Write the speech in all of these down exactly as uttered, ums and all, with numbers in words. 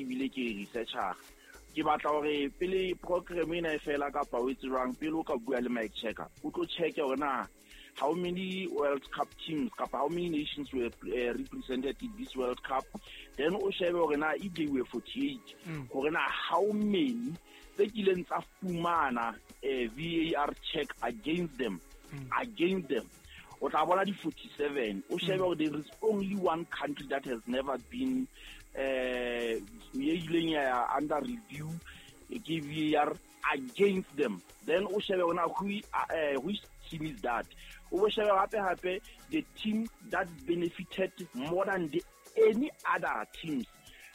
ebile ke researcher ke batla hore pele program ena e fela kapa o etse jwang pele o ka bua le Mike Checker o tlo check hore na how many World Cup teams kapa how many nations were uh, represented in this World Cup then o shebe hore na if they were forty-eight hore na how many tse kileng tsa fumana eh, V A R check against them against them O tla bona di forty-seven. O shebe hore there is only one country that has never been eh ye ileng ya ya under review ke V A R against them. Then o shebe hore na who uh, which team is that. O bo shebe hape hape the team that benefited more than the any other teams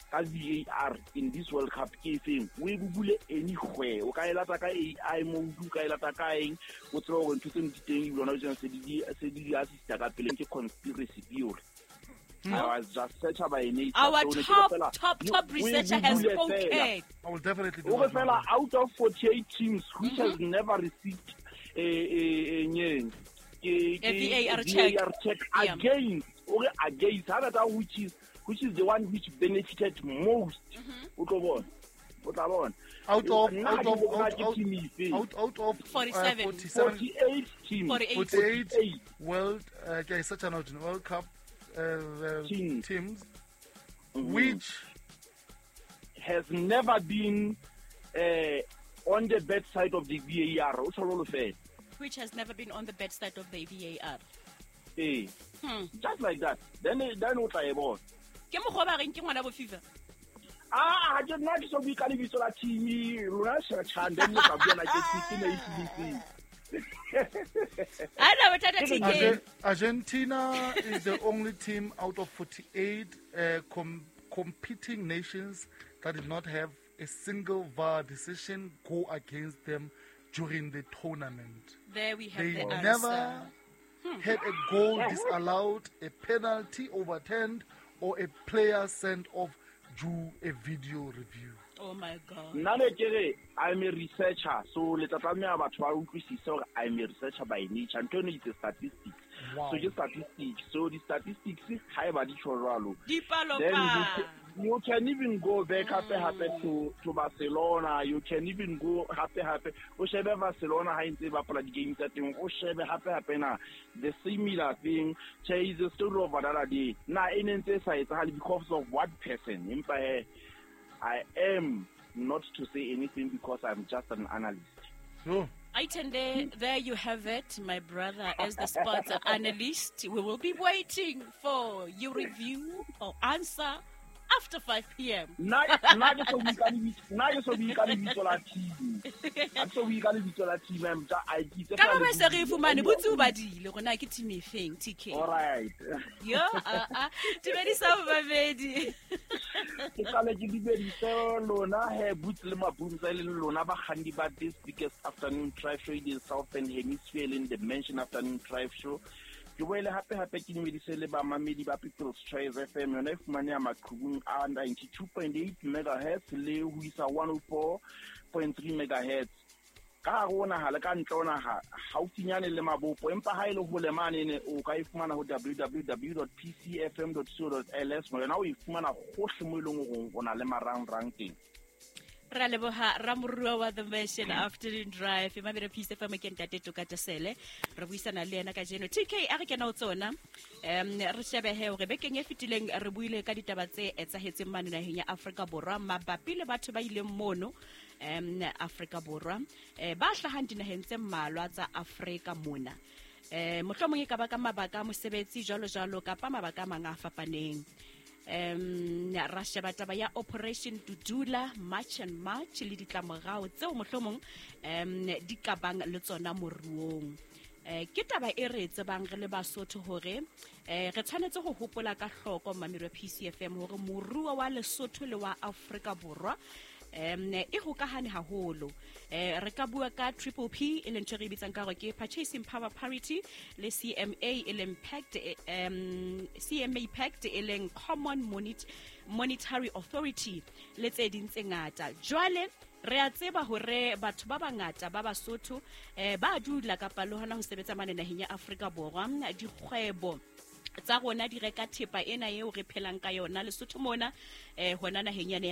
ka V A R in this World Cup ke efeng. O e google anywhere, o ka e lata ka A I mode, o ka e lata ka eng, o tsebe hore ntho tseno di teng ebile hona jwale se di se di assista ka pele. Ke conspiracy theory. I was just searcher by nature. Our So ne ke top, fela- top, No, top o e researcher has google fela. spoken. I will definitely do O re that. fela out of forty-eight teams which has never received a a a nyeng ke A ke V A R check. V A R check Yeah. against, o re against ha that which is which is the one which benefited most. O tlo bona, o tla bona. Out of Nna ha out ke of bona out ke out team efe. out out of uh, forty-seven. forty-seven. forty-eight teams. forty-eight. forty-eight forty-eight. World uh, okay, such an World Cup uh, uh, Teams. teams Mhm. which has never been uh, on the bad side of the V A R, o tsholo lo fela. Which has never been on the bad side of the V A R. Eh, Hmm. just like that. Then then o tla e bona. Ke mokgwa o ba reng ke ngwana bo FIFA. Ah, ha ke nna ke so bue ka lebitso la team lona searchang, then le tla bua na ke ke ne e tsebiseng. Ha na bothata, Ke re- T K. Arge- Argentina is the only team out of forty-eight uh, com- competing nations that did not have a single V A R decision go against them during the tournament. There we have They the answer. never had a goal disallowed, a penalty overturned, or a player sent off due a video review. Oh my God. Nna ne ke re I'm a researcher, so le tla tlameha batho ba utlwisise hore I'm a researcher by nature. Ntho eno itse statistics. Wow. So ke statistics, so di-statistics ha eba di tjho jwalo, Dipalo then you pa. can, you can even go back hape hape to to Barcelona. You can even go hape hape o shebe Barcelona ha e ntse e bapala di-game tsa teng, o shebe hape hape na the similar thing. Che, is a story of another day na e ne ntse e sa etsahale because of what person. Empa he, I am not to say anything because I'm just an analyst. Sure. Aitende, there you have it, my brother, as the sports analyst. We will be waiting for your review or answer after five p m Nna nna ke so bue ka lebitso, nna ke so bue ka lebitso la team, ha ke so bue ka lebitso la team. I'm just I ke itse Ka fela ba le se re e fumane, Google. botse o badile gore na ke team e feng, T K. All right. Yo, a a dumedisa babedi. Ke qale ke dumedise lona he Boots le Mabunza, e leng lona bakganni ba this biggest afternoon drive show in the Southern Hemisphere, e leng the Mansion Afternoon Drive Show. Ke boele hape hape ke dumedise le bamamedi ba People's Choice F M, yona e fumaneha maqhubung a ninety-two point eight megahertz le ho isa one oh four point three megahertz ka hare ho naha le ka ntle ho naha, haufinyane le mabopo. Empa ha e le hole manene, o ka e fumana ho W W W P C F M co L S. Yona o e fumana hohle mo e leng hore o na le marangrang teng. Ra leboha ramorua wa The Mansion Afternoon Drive, mamela Peace F M, ke ntate Toka Tesele. Re buisana le yena kajeno. T K, a re kena ho tsona, um re shebehe hore bekeng e fetileng re buile ka ditaba tse etsahetseng mane naheng ya Afrika Borwa mabapi le batho ba ileng mono um Afrika Borwa, um ba hlahang dinaheng tse mmalwa tsa Afrika mona, um mohlomong e ka ba ka mabaka a mosebetsi, jwalo jwalo, kapa mabaka a mang a fapaneng. um ra sheba taba ya Operation Dudula, March and March, le ditlamorao tseo mohlomong um di ka bang le tsona moruong. eh ke taba e re e tsebang re le Basotho hore eh re tshwanetse ho hopola ka hloko, mamelo P C F M, hore moruo wa Lesotho le wa Afrika Borwa um e hokahane haholo. eh re ka bua ka triple P, e leng ntho e re e bitsang ka hore ke purchasing power parity, le C M A, e leng pact, um C M A pact, e leng Common Monet Monetary Authority, le tse ding tse ngata. Jwale re a tseba hore batho ba bangata ba Basotho eh ba dula kapa le hona ho sebetsa mane naheng ya Afrika Borwa. Dikgwebo tsa rona di reka thepa ena eo re phelang ka yona Lesotho mona, eh hona naheng yane ya